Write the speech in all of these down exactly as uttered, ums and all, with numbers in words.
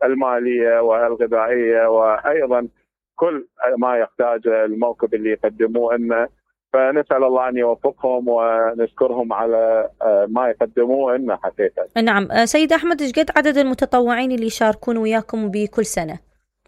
المالية والغذائية، وأيضا كل ما يحتاجه الموكب اللي يقدموه لنا. فنسأل الله أن يوفقهم ونشكرهم على ما يقدموه لنا حقيقة. نعم سيد أحمد، ايش قد عدد المتطوعين اللي يشاركون وياكم بكل سنة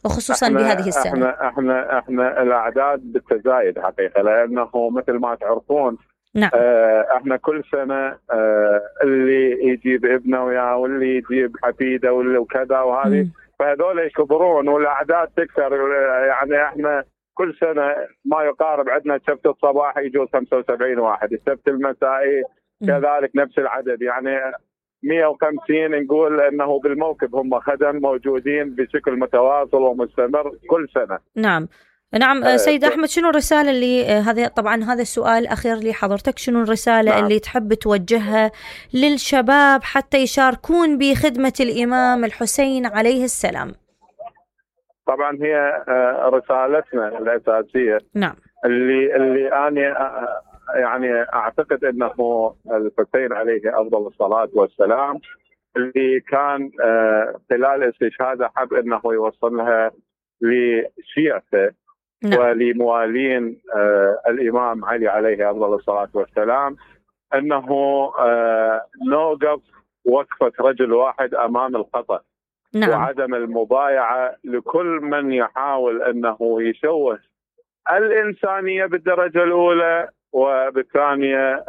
وخصوصا احنا بهذه السنة؟ احنا احنا احنا الأعداد بالتزايد حقيقة، لأنه مثل ما تعرفون نعم. اه احنا كل سنة اه اللي يجيب ابنه وياه واللي يجيب حفيده واللي وكذا وهذه، فهذول يكبرون والأعداد تكثر. يعني احنا كل سنة ما يقارب عندنا السبت الصباحي يجوز خمسة وسبعين واحد، السبت المسائي كذلك نفس العدد، يعني مئة وخمسين نقول انه بالموكب هم خدم موجودين بشكل متواصل ومستمر كل سنة. نعم نعم. آه سيد أحمد، شنو الرسالة اللي آه هذا طبعا هذا السؤال الأخير لحضرتك، شنو الرسالة نعم. اللي تحب توجهها للشباب حتى يشاركون بخدمة الإمام الحسين عليه السلام؟ طبعا هي رسالتنا الأساسية نعم اللي اللي أنا يعني أعتقد أنه الحسين عليه أفضل الصلاة والسلام اللي كان خلال استشهاده حب أنه يوصلها لشيعته نعم. ولموالين الإمام علي عليه أفضل الصلاة والسلام، أنه نوقف وقفة رجل واحد أمام الخطأ نعم. وعدم المبايعة لكل من يحاول أنه يشوه الإنسانية بالدرجة الأولى، وبالثانية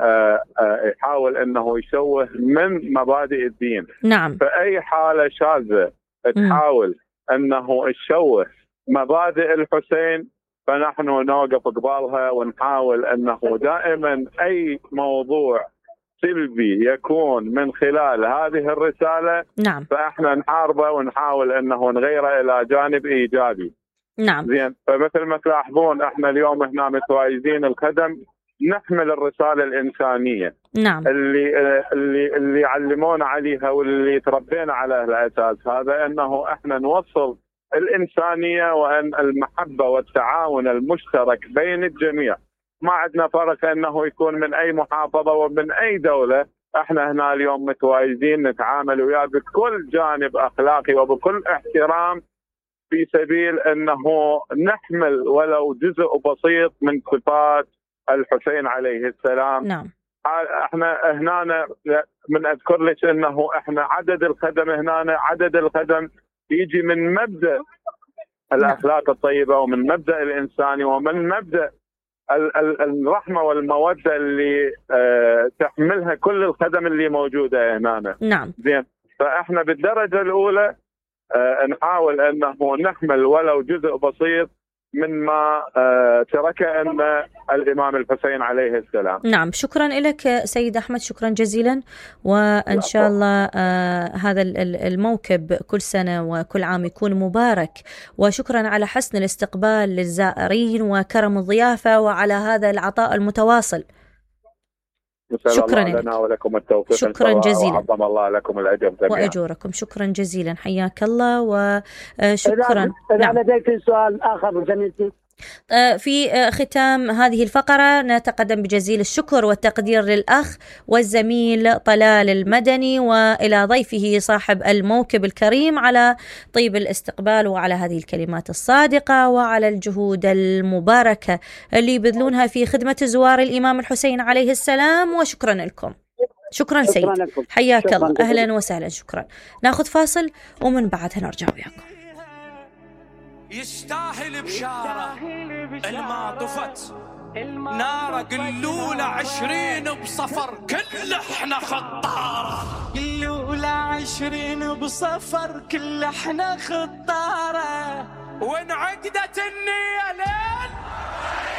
يحاول أنه يشوه من مبادئ الدين. نعم. فأي حالة شاذة تحاول أنه تشوه مبادئ الحسين فنحن نوقف قبالها ونحاول أنه دائما أي موضوع سلبي يكون من خلال هذه الرسالة نعم. فإحنا نحاربه ونحاول أنه نغيره إلى جانب إيجابي. نعم. زين، فمثل ما تلاحظون إحنا اليوم هنا متواجدين الخدم نحمل الرسالة الإنسانية نعم. اللي اللي اللي علمونا عليها واللي تربينا على الأساس هذا، أنه إحنا نوصل الإنسانية وأن المحبة والتعاون المشترك بين الجميع. ما عندنا فرق أنه يكون من أي محافظة ومن أي دولة، احنا هنا اليوم متواجدين نتعامل وياه بكل جانب أخلاقي وبكل احترام في سبيل أنه نحمل ولو جزء بسيط من صفات الحسين عليه السلام. نعم. احنا هنا من أذكر لك أنه احنا عدد الخدم هنا عدد الخدم يجي من مبدأ الأخلاق الطيبة ومن مبدأ الإنساني ومن مبدأ الرحمة والمودة اللي أه تحملها كل الخدم اللي موجودة هنا. نعم. زين، فإحنا بالدرجة الأولى أه نحاول أنه نحمل ولو جزء بسيط مما أه تركه أن الإمام الحسين عليه السلام. نعم، شكرا لك سيد أحمد، شكرا جزيلا، وإن شاء الله آه هذا الموكب كل سنة وكل عام يكون مبارك، وشكرا على حسن الاستقبال للزائرين وكرم الضيافة وعلى هذا العطاء المتواصل. شكرا لنا ولكم التوفيق. شكرا جزيلا، وعظم الله لكم الأجر جميعا وأجوركم. شكرا جزيلا، حياك الله وشكرا. نعم. لديك سؤال آخر جميل. في ختام هذه الفقرة نتقدم بجزيل الشكر والتقدير للأخ والزميل طلال المدني وإلى ضيفه صاحب الموكب الكريم على طيب الاستقبال وعلى هذه الكلمات الصادقة وعلى الجهود المباركة اللي يبذلونها في خدمة زوار الإمام الحسين عليه السلام، وشكرا لكم. شكرا سيد، حياك الله، أهلا وسهلا، شكرا. ناخذ فاصل ومن بعدها نرجع وياكم. يستاهل بشارة الما طفت نار قلولة عشرين بصفر كل احنا خطارة، قلولة عشرين بصفر كل احنا خطارة، وانعقدت النية لين